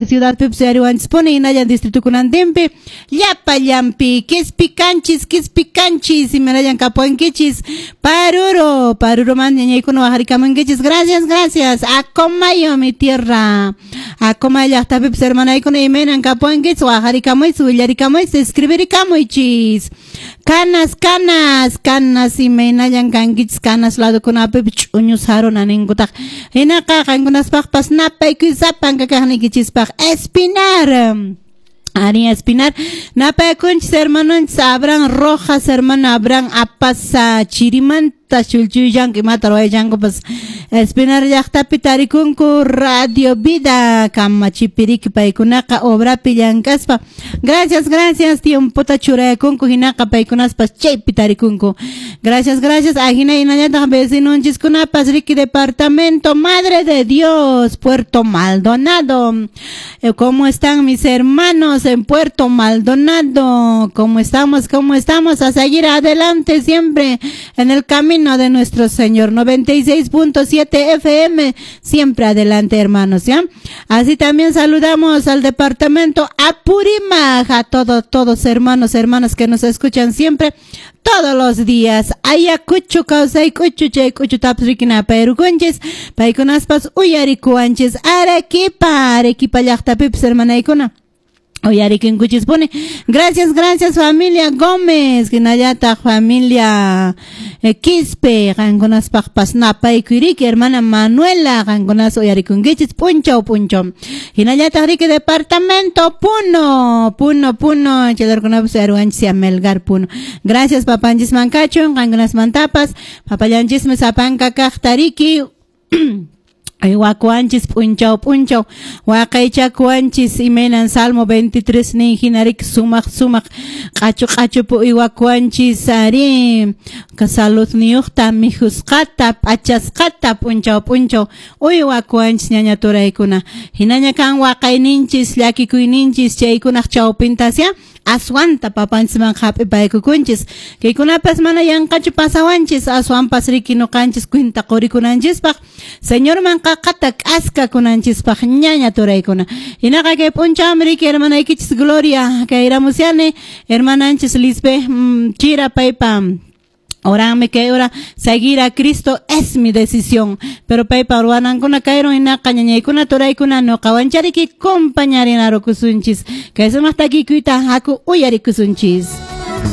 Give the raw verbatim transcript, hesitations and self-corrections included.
Ciudad pipis uyariwanchispuni hinallan distritukunantinpi llapallanpi Quispicanchis Quispicanchis imanallan kapuwankichis Paruro Paruroman ñañaykuna waqharikamunkichis. Gracias, gracias. Acomayo, mi tierra, Acomayo llaqtapipis hermanaykuna imaynan kapuwankichis waqharikamuychis willarikamuychis escribirikamuychis. Canas, Canas, Canas imaynallan kankichis Canas ladokunapipis ch'uñu saruna ninkutaq hinaqa qankunaspaqpas napaykuy sapanka kaqniykichispaq. Espinar. Ari Espinar. Napaykunchis hermanonchis Abraham Rojas, hermano Abraham Apasa chirimanta chulchullanku imata ruwayallankupas Espinar llaqtapi tarikunku Radio Vida kamachipiriki paykunaqa obrapi llank'aspa. Gracias, gracias, tiempota churayakunku hinaqa paykunaspas chaypi tarikunku. Gracias, gracias. Ajina hinallataq vecinonchiskunapas riki departamento Madre de Dios, Puerto Maldonado. ¿Cómo están mis hermanos en Puerto Maldonado? ¿Cómo estamos? ¿Cómo estamos? A seguir adelante siempre en el camino de nuestro Señor. noventa y seis punto siete F M, siempre adelante, hermanos, ¿ya? Así también saludamos al departamento Apurímac, a todos, todos hermanos, hermanas que nos escuchan siempre, todos los días. Ayacucho, kawsaykuchu, chaykuchu, tapsrikina, perukunchis, paykunaspas uyarikuwanchis, Arequipa, Arequipa llaqtapipis, hermanaykuna. Uyarikinkuchispuni. Gracias, gracias familia Gómez, hinallataq familia eh, Quispe, qankunaspaqpas napaykuyriki, hermana Manuela, qankunas uyarikunkichis p'unchaw p'unchaw. Hinallataq riki departamento Puno, Puno, Puno, chaylarkunapas uyariwanchis ya Melgar Puno. Gracias papanchis mankachun, qankunasmantapas, papallanchismi sapanka kaqta riki. Wakuanchis p'unchaw p'unchaw waqaychakuanchis imaynan Salmo veintitrés nin hinarik sumaq sumaq q'achu q'achupu uywakuanchis ari saludniyuqta mikhusqata p'achasqata p'unchaw p'unchaw uywakuanchis ñaña turaykuna hinaña kan waqayninchis llakikuyninchis chaykunaq chawpintasya aswanta papanchisman hap'ipaykukunchis kaykunapas mana yanqachu pasawanchis aswanpas riki nuqanchis kwinta qurikunanchispaq Señorman qaqata k'askakunanchispaq ñaña turaykuna hinaqa kay p'unchawmi riki hermanaykichis Gloria kay ramusyani hermananchis Lisbe mm, chira paypa oranmi kay hora seguir a Cristo es mi decisión pero paypa ruwanankuna kayron hinaqa ñañaykuna turaykuna nuqawanchariki compañarinarukusunchis kay sumaq takikuyta haku uyarikusunchis.